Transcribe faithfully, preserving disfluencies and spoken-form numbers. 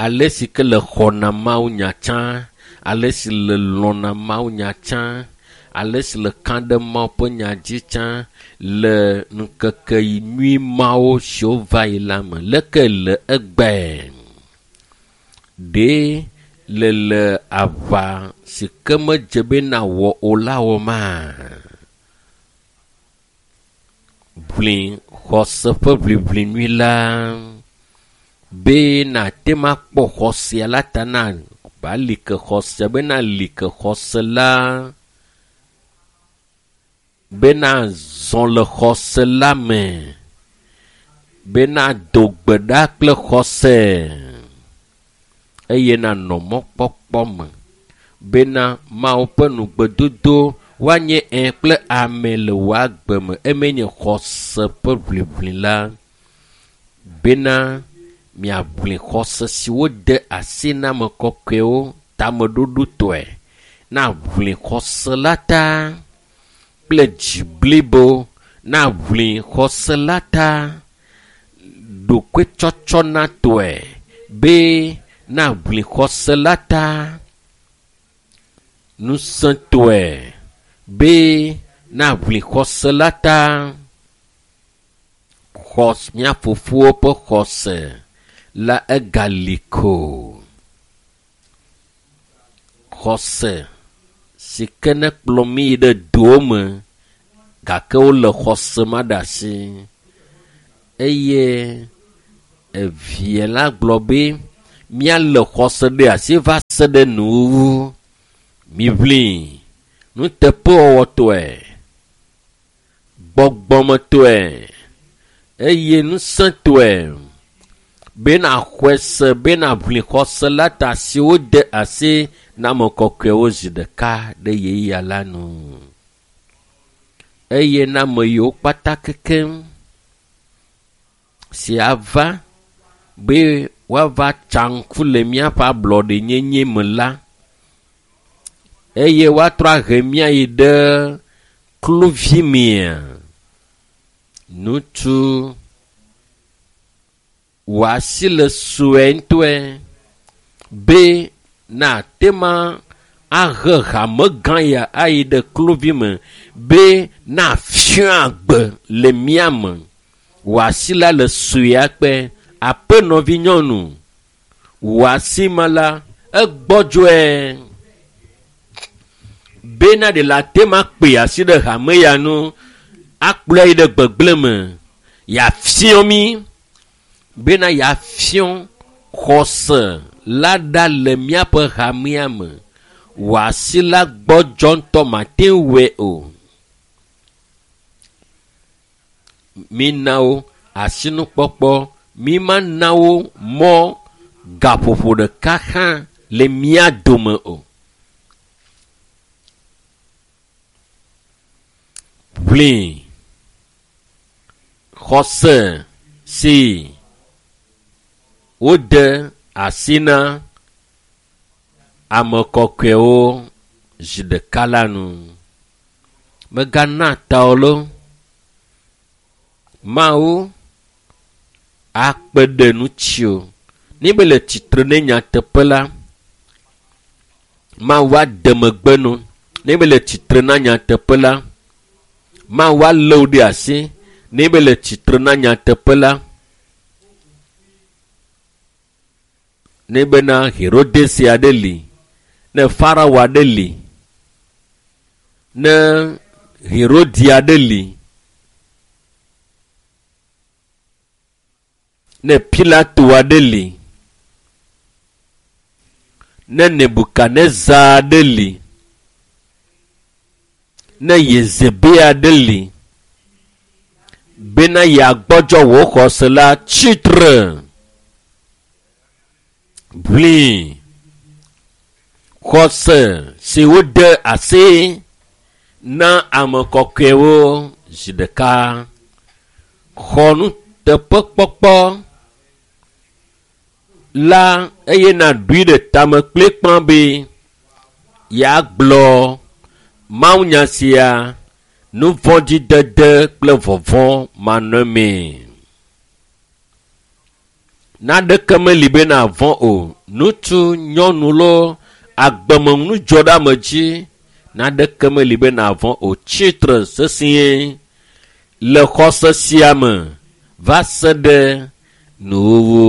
Ale si ke le xɔna mawunya tsã, ale si le lɔ̃na mawunya tsã, ale si le ka ɖe Mawu ƒe nya dzi tsã le ŋkeke nyui mawo siwo va yi la me. Leke le egbe? Ɖe le le aʋa si ke medze be nawɔ o la wɔma? Ʋli xɔse ƒe ʋliʋli nyui la be nàte ŋu akpɔ xɔsea la ta na ba li ke xɔse be na li ke xɔse la be nazɔ le xɔse la me be nado gbe ɖa kple xɔse eye nanɔ mɔkpɔkpɔ me bena Mawu ƒe nugbedodo woanye ẽ kple ame le wò agbe me eme nye xɔse ƒe ʋliʋli la bena miaʋli xɔse si wode asi na ame kɔkɔewo tameɖoɖotɔe na ʋli xɔse la ta kple dzi blibo na ʋli xɔse la ta ɖokuitsɔtsɔnatɔe be na ʋli xɔse la ta ŋusẽtɔe be na ʋli xɔse la ta xɔ mía fofowo ƒe xɔse la egali ko. Xɔse si ke ne kplɔ mí yi ɖe dowo me gake wole xɔse ma ɖe asi eye evie la gblɔ be míale xɔse ɖe asi va se ɖe nuwuwu. Miʋli nuteƒewɔwɔtɔe, gbɔgbɔmetɔe eye ŋusẽtɔe be naxɔe se be naʋli xɔse la ta si wode asi na ame kɔkɔewo zi ɖeka ɖe ɣeyiɣia la nu. Eye na ame yiwo kpata kekeŋ si ava be woava tsa ŋku le míaƒe ablɔɖenyenye me la eye woatrɔ ahe mía yi ɖe kluvi mea. Ŋutsu wò asi le sue ŋutɔe be nate ma ahe hame gã ya ayi ɖe kluvi me be nafia agbe le mía me. Wò asi la le sue akpe aƒenɔvi nyɔnu. Wò asi ma la egbɔdzɔe bena ɖe le ate ma kpe asi ɖe hame ya nu akplɔe yi ɖe gbegblẽ me yeafiɔ mí bena yeafiɔ xɔse la ɖa le míaƒe hamea me. Wò asi la gbɔdzɔ ŋutɔ mate ŋu wɔe o. Mina wo asinukpɔkpɔ, mímana wo mɔ gaƒoƒo ɖeka hã le mía dome o. Ʋli xɔse si wode asi na ame kɔkɔewo zi ɖeka la nu. Mègana ta o lo. Mawu akpe ɖe ŋutiwò. Ne be le tsitre ne nyateƒe la, Mawu ade megbe no. Ne be le tsitre na nyateƒe la, Mawu alé wò ɖe asi. Ne be le tsitre na nyateƒe la, ne bena Herodes aɖe li, ne Farao aɖe li, ne Herodi aɖe li, ne Pilato aɖe li, ne Nebukadnezar aɖe li, ne Yezebe aɖe li, bena yeagbɔdzɔ wò xɔse la, tsitre. Ʋli xɔse si wode asi na ame kɔkɔewo zi ɖeka. Xɔ nuteƒekpɔkpɔ la eye nàɖui ɖe tame kplikpã be yeagblɔ mawunya sia nuvɔ̃dzidede kple vɔvɔ̃ manɔmee. Naneke meli be nàvɔ̃ o. Ŋutsu, nyɔnu loo, agbemenudzɔɖeamedzi, naneke meli be nàvɔ̃ o. Tsitre sesĩe le xɔse sia me va se ɖe nuwuwu.